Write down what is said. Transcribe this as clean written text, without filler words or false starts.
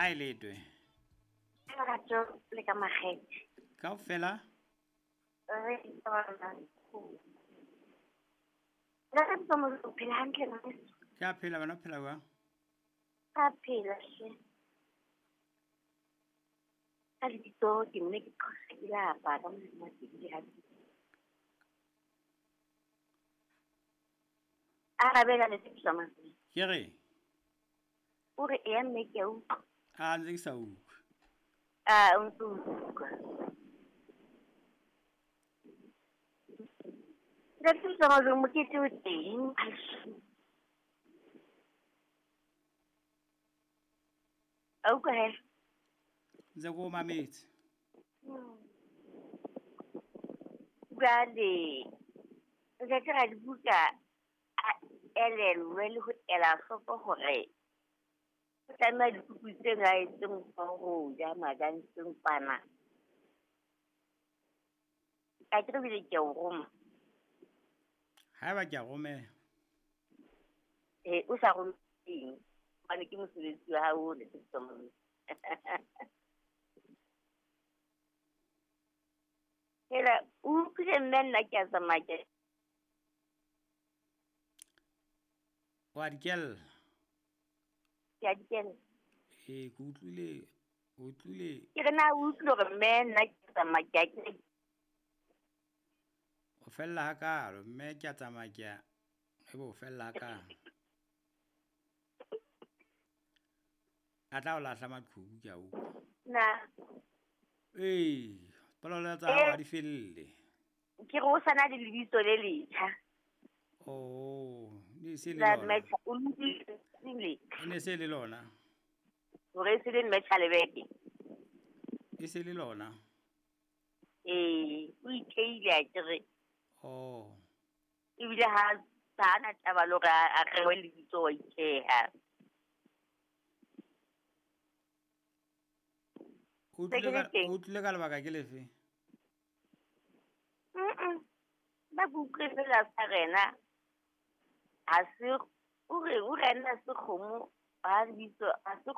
Ha e letwe. Lerato le ka makgethe. Kaofela? Re tsona. Ntate Mtsamo, o phela hantle ngwaneso? Ke a phela, wena o phela jwang? Ka phela hle. Ka lebitso ke mme ke qhosa ke lapa ka Modimo wa teng le hantle. Arabela le tsepisa mantswe. Ke re? O re eya mme ke a utlwa. A ntse ke sa utlwe. A o ntse o utlwa. Ntate Mtsamo, mokete o teng. A utlwa he? Ntse ke o mametse. Jwale ntate Radibuka a elellwe le ho ela hloko hore o tlameha dikuku tse ngaetseng ho ja madanseng kwana. Ka ke re bile ke a o roma. Haeba ke a romela. Eh, o sa romeng hobane ke mosebetsi wa hao o ntate Mtsamo. Hela, o utlwile mme nna ke a tsamaya ke Wa di kella. Ke a di kella. Ee, ke utlwile, utlwile. Ke re na o utlwile hore mme nna ke tsamaya ke a ke O fella hakalo, mme ke a tsamaya ke a ebe o fella hakalo. A tla o lahla maqhubu ke a utlwa. Na. Ee, polelo tsa hao ha di felle. Ke re o sa na le lebitso le letjha. Oh, ne se le La lona. mme o utlwile. E ne se le lona. Hore e se le mme Tjhalebeke. E se le lona. Ee, o itheile a ke re. Oh. Ebile ha na taba le hore a rewe lebitso wa itheha. O utlwile ka lebaka ke lefe? Ba ke utlwe fela sa rena. Ha se o re o rena se kgomo ha lebitso ha se